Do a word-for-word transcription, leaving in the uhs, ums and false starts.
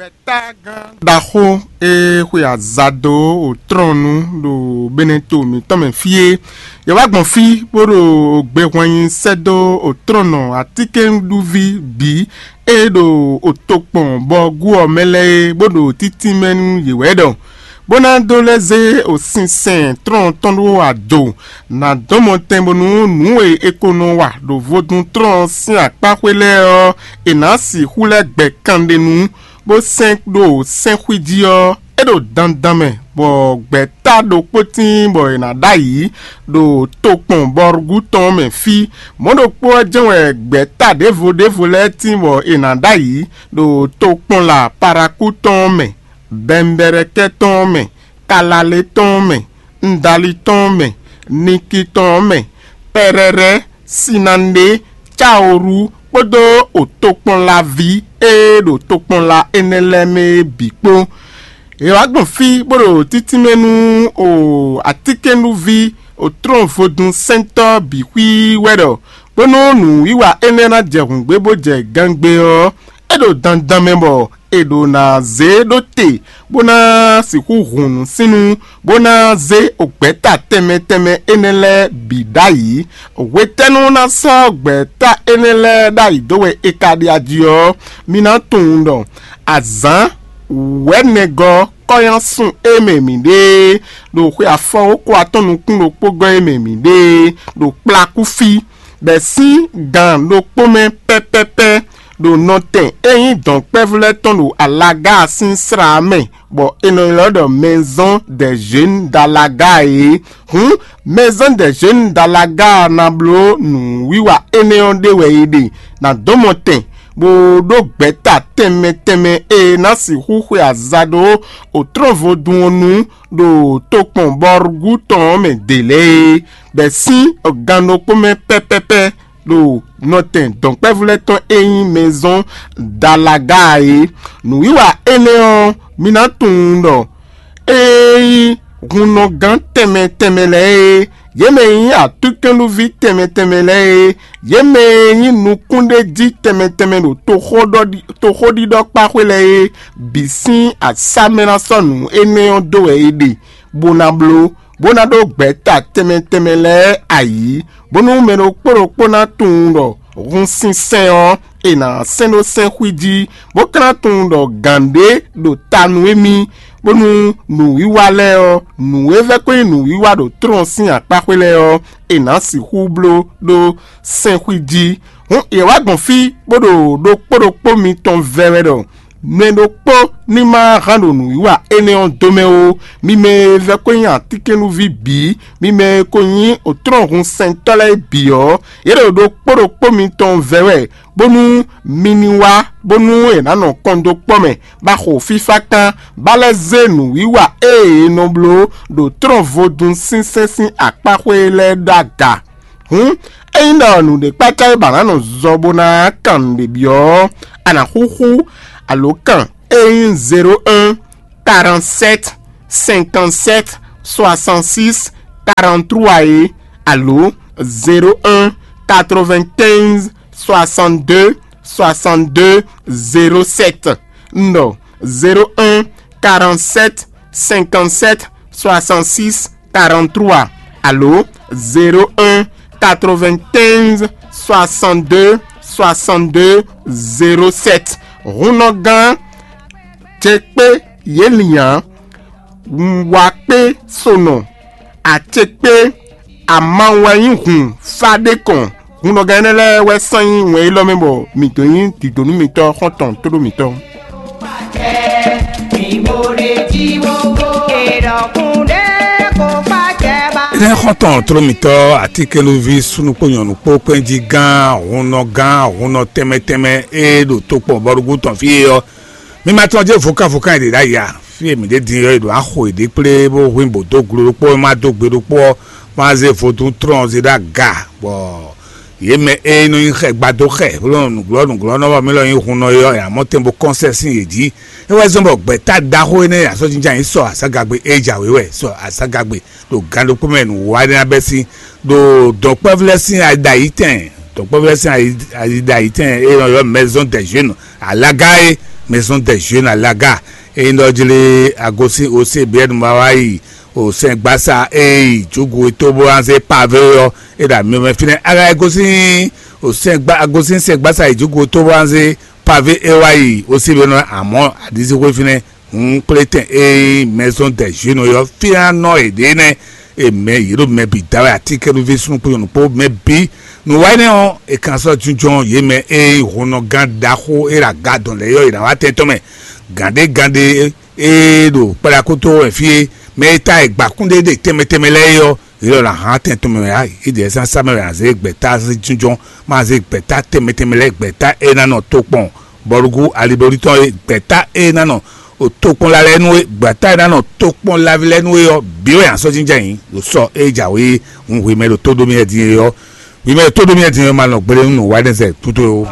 Gbɛ̌tagán ɖaxó e xwe azado otrɔ́nnu ɖo Beneto mǐtɔn mɛ fí é, yě wá gbɔn fí bó ɖo gbehwannyi sɛ́ dó otrɔ́nnɔ atínkɛnɖuví bǐ e ɖo otokpɔn bɔ gú ɔ́ mɛ lɛ́ɛ é, bó ɖo títínmɛ nú yě wɛ ɖɔ, bó ná dó lɛ́ zé osinsɛn tlɔ́n tɔn ɖó ado, nǎ dɔn mɔtɛn bónú nǔ e è ko nɔ wa ɖo vodún tlɔ́n sín akpáxwé lɛ́ɛ ɔ́, è nǎ sixú lɛ́ gbɛ kanɖenu, bó sɛn ɖo sɛ́nxwí jí ɔ́, é ɖo dandan mɛ, bɔ gbɛ̌ta ɖokpó tíin bɔ è nǎ ɖ'ayǐ ɖo tokpɔn bɔrúgú tɔn mɛ fí. Mɔ̌ ɖokpó ɔ́ jɛ́n wɛ gbɛ̌ta ɖěvo ɖěvo lɛ́ɛ tíin bɔ è nǎ ɖ'ayǐ ɖo tokpɔn la parakú tɔn mɛ, bɛnbɛrɛkɛ́ tɔn mɛ, kalalé tɔn mɛ, ndali tɔn mɛ, niki tɔn mɛ, pɛrɛrɛ, sinanɖe, caoru kpódó otokpɔnlaví e ɖo tokpɔnla énɛ́ lɛ́ɛ mɛ é bǐ kpó. È wǎ gbɔn fí bó ɖo títínmɛ nú o atínkɛnɖuví otlɔ́nvodún sɛntɔ́ bǐ xwíí wɛ ɖɔ, bónú nǔwiwa énɛ́ ná jɛ hǔngbé bó jɛ gangbe ɔ́, é ɖo dandan mɛ bɔ è ɖǒ ná zé ɖó te, bó ná sixú hun nǔsínnú, bó ná zé gbɛ̌ta tɛnmɛ tɛnmɛ énɛ́ lɛ́ɛ bǐ ɖ'ayǐ. Hwetɛ́nu ná sɔ́ gbɛ̌ta énɛ́ lɛ́ɛ ɖ'ayǐ dó wɛ è ka ɖe aji ɔ́, mi ná tunwun ɖɔ azǎn wɛ̌nɛgɔ́ kɔ́yánsun e mɛ mǐ ɖe é, ɖo xwe afɔwókó atɔ́ nukún ɖokpó gɔ́ e mɛ mǐ ɖe é, ɖo kplakú fí, bɛ̌ sín gan ɖokpó mɛ pɛ́pɛ́pɛ́, ɖo nɔtɛn e nyí dɔ̌nkpɛvú lɛ́ɛ tɔn ɖo alaga sín slá mɛ, bɔ è nɔ ylɔ́ ɖɔ Maison des Jeunes d'Alaga é. Hǔn, Maison des Jeunes d'Alaga ná bló nǔwiwa énɛ́ ɔ́ ɖe wɛ è ɖe ná dó mɔ tɛn, bó ɖó gbɛ̌ta tɛnmɛ tɛnmɛ e ná sixú xwe aza ɖó otlɔ́nvodún ɔ́ nu ɖo tokpɔn bɔrúgú tɔn ɔ́ mɛ dě lɛ́ɛ é, bɛ̌ sín gan ɖokpó mɛ pɛ́pɛ́pɛ́, ɖo nɔtɛn dɔ̌nkpɛvú lɛ́ɛ tɔn e nyí Maison d'Alaga é. Nǔwiwa énɛ́ ɔ́, mi ná tunwun ɖɔ é nyí hunnɔgán tɛnmɛ tɛnmɛ lɛ́ɛ é, yě mɛ e nyí atúnkɛnɖúví tɛnmɛ tɛnmɛ lɛ́ɛ é, yě mɛ e nyí nukúnɖéjí tɛnmɛ tɛnmɛ ɖo toxóɖiɖɔkpáxwé lɛ́ɛ é, bǐ sín asá mɛ ná sɔ́ nǔ énɛ́ ɔ́ dó wɛ è ɖe, bó ná bló, bó ná ɖó gbɛ̌ta tɛnmɛ tɛnmɛ lɛ́ɛ ayǐ, bónú mɛ ɖokpó ɖokpó ná tunwun ɖɔ hun sinsɛn ɔ́, è nǎ sɛn ɖó sɛ́nxwí jí, bó ka ná tunwun ɖɔ gǎn ɖé ɖo ta nú émí, bónú nǔwiwa lɛ́ɛ ɔ́, nǔ e vɛ́ ko nyí nǔwiwa ɖo tlɔ́n sín akpáxwé lɛ́ɛ ɔ́, è nǎ sixú bló ɖó sɛ́nxwí jí. Hǔn yě wá gbɔn fí, bó ɖo ɖokpó ɖokpó mitɔn vɛ wɛ ɖɔ mɛ ɖokpó ní ma hán ɖo nǔwiwa énɛ́ ɔ́ dó mɛ ó. Mi mɛ e vɛ́ ko nyí atínkɛnúví bǐ, mi mɛ e ko nyí òtrɔ́nhunsɛntɔ́ lɛ́ɛ bǐ ɔ́, yě ɖo ɖokpó ɖokpó mitɔn vɛ wɛ, bónú mi ní wá, bónú è nǎ nɔ kɔn dó kpɔ́ mɛ, bá xo fífá kán, bá lɛ́ zé nǔwiwa e è nɔ bló ɖo tlɔ́n vodún sínsɛ́n sín akpáxwé lɛ́ɛ ɖó aga. Hǔn, ényí ɖɔ nǔɖé kpácá é ba ná nɔ zɔ bó ná kan nǔɖé byɔ́ ɔ́, a nǎ xúxú alǒkan e nyí zéro un, quarante-sept, cinquante-sept, soixante-six, quarante-trois é, alo zéro un, quatre-vingt-quinze, soixante-deux, soixante-deux, zéro sept. Un ɖɔ zéro un, quarante-sept, cinquante-sept, soixante-six, quarante-trois, alo zéro un, quatre-vingt-quinze, soixante-deux, soixante-deux, zéro sept. Hunnɔgán Jekpé Yelian, Wakpé Sonɔ, Acekpé Amawɛnyihun Fadekɔn. Hunnɔgán énɛ́ lɛ́ɛ wɛ sán nyí wɛn élɔ́ mɛ bɔ mǐ dó nyí dǐdónú mitɔn xɔ́ntɔn tóɖó mǐtɔn. Énɛ́ xɔ́ntɔn tló mǐtɔn atínkɛnúví súnnu kpó nyɔ̌nu kpó kpɛ́njí gán, hunnɔ gán, hunnɔ tɛnmɛ tɛnmɛ e ɖo tokpɔn bɔɖugbú tɔn fí é ɔ́, mi ma tɔn jɛ vokán vokán e ɖě ɖ'ayǐ a? Fí e mǐ ɖe din ɔ́, è ɖǒ axo yěɖée kplé bó hwín bǒ dó glo ɖokpó, é má dó gbe ɖokpó ɔ́, má zé vodún tlɔn zé ɖó aga, bɔ yě mɛ e nɔ nyi xɛ gbadó xɛ, bó nɔ nǔglɔ́ nǔglɔ́nɔ bɔ mí lɔ nyí hunnɔ é ɔ́, è nǎ mɔ tɛn bó kɔ́n sɛ́ sín yě jí. É wɛ zɔ́n bɔ gbɛ̌ta ɖaxó énɛ́ e asɔ́jínjɔ́n ayǐ sɔ azǎngagbe e jǎwe wɛ, sɔ azǎngagbe ɖo gan ɖokpó mɛ nǔwiwa énɛ́ ná bɛ́ sín, ɖo dɔ̌nkpɛvlɛ́ sín ayiɖayítɛn, dɔ̌nkpɛvlɛ́ sín ayiɖayítɛn e nɔ ylɔ́ Maison des Jeunes alaga é, Maison des Jeunes à Laga. Eye ɖɔ jlé agosin ose biɛnu ma wá yi o sɛn gbasa e yi jugu e to bó anze pave ɔ́, e ɖo ami mɛ fínɛ́. Aga e gosin o sɛn gba agosin sɛn gbasa yi jugu e to bó anze pave e wá yi o si be nɔ amɔ adizixwe fínɛ́. Hun kplétɛn e Maison des Jeunes yɔ fínɛ́ nɔ e ɖe nɛ. E mɛ yě ɖo mɛ bǐ da wɛ, atínkɛ́núví súnnu kpó nyɔ̌nu kpó mɛ bǐ. Nǔ wa énɛ́ ɔ́, è kan sɔ́ jínjɔ́n yě mɛ e nyí hɔnnɔgán ɖaxó e ɖo aga dɔn lɛ́ɛ yɔ, è nǎ wá tɛn tɔn mɛ. Gǎnɖé gǎnɖé e ɖo kpɛɖakúto wɛ fí e mɛ e ta e gbǎkún ɖé ɖe tɛnmɛ tɛnmɛ lɛ́ɛ é ɔ́, yě lɔ ná hán tɛn tɔn mɛ wɛ ǎ. Ídɛ̌ zán sá mɛ wɛ ná zé gbɛ̌ta sín jínjɔ́n, má zé gbɛ̌ta tɛnmɛ tɛnmɛ lɛ́ɛ, gbɛ̌ta e ná nɔ tokpɔn bɔlugú alibolítɔ́ e, gbɛ̌ta e ná nɔ tokpɔn la lɛ́ɛ nú é, gbɛ̌ta e ná nɔ tokpɔn laví lɛ́ɛ nú é ɔ́, bǐ wɛ ná sɔ́ jínjɔ́n ayǐ ɖo sɔ e jǎwe hun hwemɛ ɖo tó ɖó mì wɛ din é ɔ́. Hwemɛ ɖo tó ɖó mì wɛ din é ɔ́, ma nɔ gbéɖé nú nǔ wa énɛ́ zɛ gúdo ó.